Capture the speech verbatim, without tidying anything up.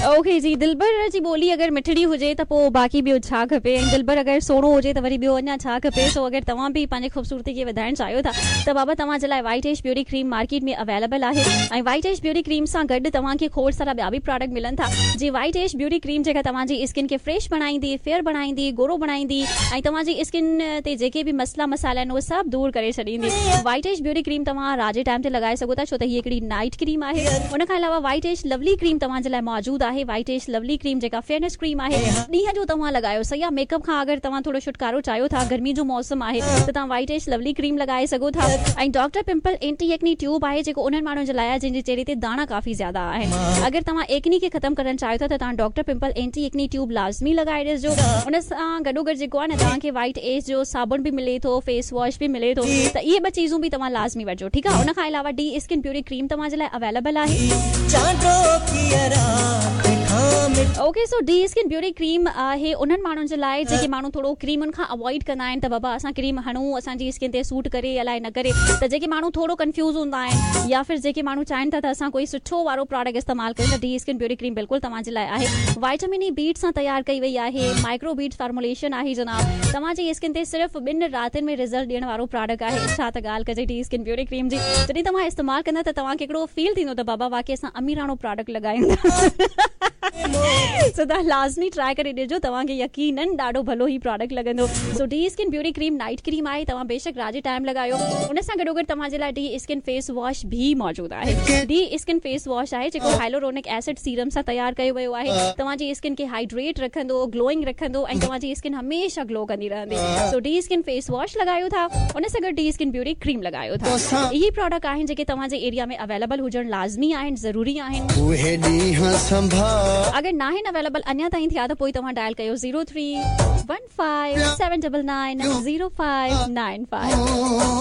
Okay जी, दिलबर जी ॿोली अगरि मिठड़ी हुजे त पोइ बाक़ी ॿियो छा खपे, ऐं दिलबर अगरि सुहिणो हुजे त वरी ॿियो अञा छा खपे। सो अगरि तव्हां बि पंहिंजी ख़ूबसूरती खे वधाइणु चाहियो था त बाबा तव्हां जे लाइ white ash beauty cream market में अवेलेबल आहे। ऐं वाइट एश ब्यूटी क्रीम सां गॾु तव्हांखे खोड़ सारा ॿिया बि प्रोडक्ट मिलनि था। जी वाइट एश ब्यूटी क्रीम जेका तव्हांजी स्किन खे फ्रेश बणाईंदी, फेयर बणाईंदी, गोरो बणाईंदी ऐं तव्हांजी स्किन ते जेके बि मसइला मसाइल आहिनि उहे सभु दूर करे छॾींदी। वाइट एश ब्यूटी क्रीम तव्हां राति जे टाइम ते लॻाए सघो था, छो त हीअ हिकिड़ी नाइट क्रीम आहे। उन खां अलावा वाइट एश लवली क्रीम तव्हांजे लाइ मौजूदु आहे। वाइट एश लवली क्रीम जेका फेयरनेस क्रीम आहे, ॾींहं जो तव्हां लॻायो सही आहे। मेकअप खां अगरि तव्हां थोरो छुटकारो चाहियो था, गर्मी जो मौसम आहे त तव्हां वाइट एश लवली क्रीम लॻाए सघो था। ऐं doctor pimple anti acne tube आहे जेको उन्हनि माण्हुनि जे लाइ आहे जिन जे चेहरे ते दाणा काफ़ी ज़्यादा आहिनि। अगरि तव्हां एक्नी खे ख़तमु करणु चाहियो था त तव्हां doctor pimple anti acne tube लाज़मी लॻाए ॾिसजो। उन सां गॾोगॾु जेको आहे न तव्हांखे वाइट एश जो साबुण बि मिले थो, फेस वॉश बि मिले थो, त इहे ॿ चीज़ूं बि तव्हां लाज़मी वठिजो, ठीकु आहे। उन खां अलावा डी स्किन ब्यूटी क्रीम तव्हांजे लाइ अवेलेबल आहे। Okay, so the skin beauty cream आहे उन्हनि माण्हुनि जे लाइ जेके माण्हू थोरो क्रीमुनि खां अवॉइड कंदा आहिनि त बाबा असां क्रीम हणूं, असांजी स्किन ते सूट करे अलाए न करे, त जेके माण्हू थोरो कंफ्यूज हूंदा आहिनि या फिर जेके माण्हू चाहिनि था त असां कोई सुठो वारो प्रोडक्ट इस्तेमालु कयूं, त डी स्किन ब्यूटी क्रीम बिल्कुलु तव्हांजे लाइ आहे। वाइटामिन ई बीट सां तयारु कई वई आहे, माइक्रो बीट फॉर्मुलेशन आहे जनाब। तव्हांजी स्किन ते सिर्फ़ ॿिनि रातियुनि में रिज़ल्ट ॾियण वारो प्रोडक्ट आहे। छा त ॻाल्हि कजे डी स्किन ब्यूटी क्रीम जी। जॾहिं तव्हां इस्तेमालु कंदा त तव्हांखे हिकिड़ो फील थींदो त बाबा वाकई असां अमीराणो प्रोडक्ट लॻायूं था। सो तव्हां लाज़मी ट्राई करे ॾिसजो, तव्हांखे यकीनन ॾाढो भलो ही प्रोडक्ट लॻंदो। So the skin beauty cream night cream आहे, तव्हां बेशक राति जे टाइम लॻायो। उन सां गॾोगॾु तव्हांजे लाइ डी स्किन फेस वॉश बि मौजूदु आहे। डी स्किन फेस वॉश आहे जेको हाइलोरोनिक एसिड सीरम सां तयारु कयो वियो आहे। तव्हांजी स्किन खे हाइड्रेट रखंदो, ग्लोइंग रखंदो ऐं तव्हांजी स्किन हमेशह ग्लो कंदी रहंदी। So the skin face wash लॻायो था, उन सां गॾु डी स्किन ब्यूटी क्रीम लॻायो था। इहे प्रोडक्ट आहिनि जेके तव्हांजे एरिया में अवेलेबल हुजणु लाज़मी आहिनि, ज़रूरी आहिनि। अगरि नाहिनि अवेलेबल अञा ताईं थिया त पोइ तव्हां डायल कयो zero three one five seven double nine zero five nine five.